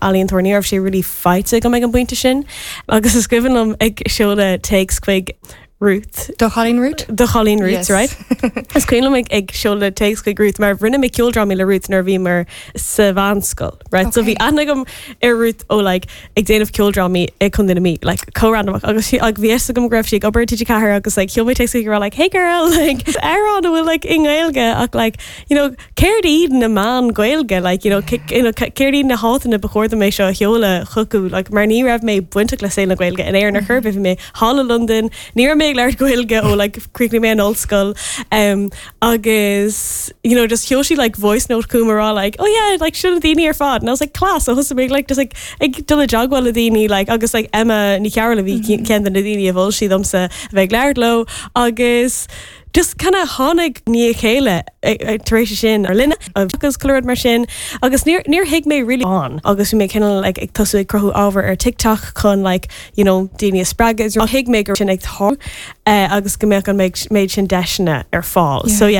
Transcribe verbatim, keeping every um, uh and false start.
ealaíontóir ní raibh sé really faighte agam ag an bpointe sin agus is cuimhin liom ag seoladh téacs chuig Ruth Do chailín Ruth? Do chailín Ruth Yes. right? Is cuimhin liom ag ag seoladh téacs chuig Ruth mar rinne mé ceoldrámaí le Ruth nuair a bhí mar sa mheánscoil right? So bhí Okay. aithne agam ar Ruth ó like ag déanamh ceoldrámaí ag Contae na Mí like chomh random agus sí ag bhí agam go raibh sí ag obair TG Ceathair agus like sheol mé téacs chuig like hey girl like amhrán a bhfuil like i nGaeilge ach like you know céard iad na meáin Gaeilge like you know you know céard iad na háiteanna ba chóir dom é seo a sheoladh chucu like mar ní raibh mé bainteach le saol na Gaeilge in Éirinn ar chor bhí mé thall i London ní raibh mé ag labhairt Gaeilge ó like chríochnaigh mé an ollscoil um, agus you know just sheol sí like voice note chugam rá like oh yeah like sin na daoine ar fad and I was like class so thosaigh mé like just like ag dul i dteagmháil le daoine like agus like Emma Ní Chearúil a bhí ceann de na daoine a mhol sí domsa a bheith ag labhairt leo agus just kind of tháinig ní chéile tar éis sin ar líne agus clúid mar sin agus níor níor thuig mé really an agus bhí mé cineál like, ag tosú ag cruthú ábhar ar TikTok chun like you know daoine a spreagadh thuig mé gur sin ag tá uh, agus go mbeadh an méid sin deiseanna ar fáil. Yeah. So yeah,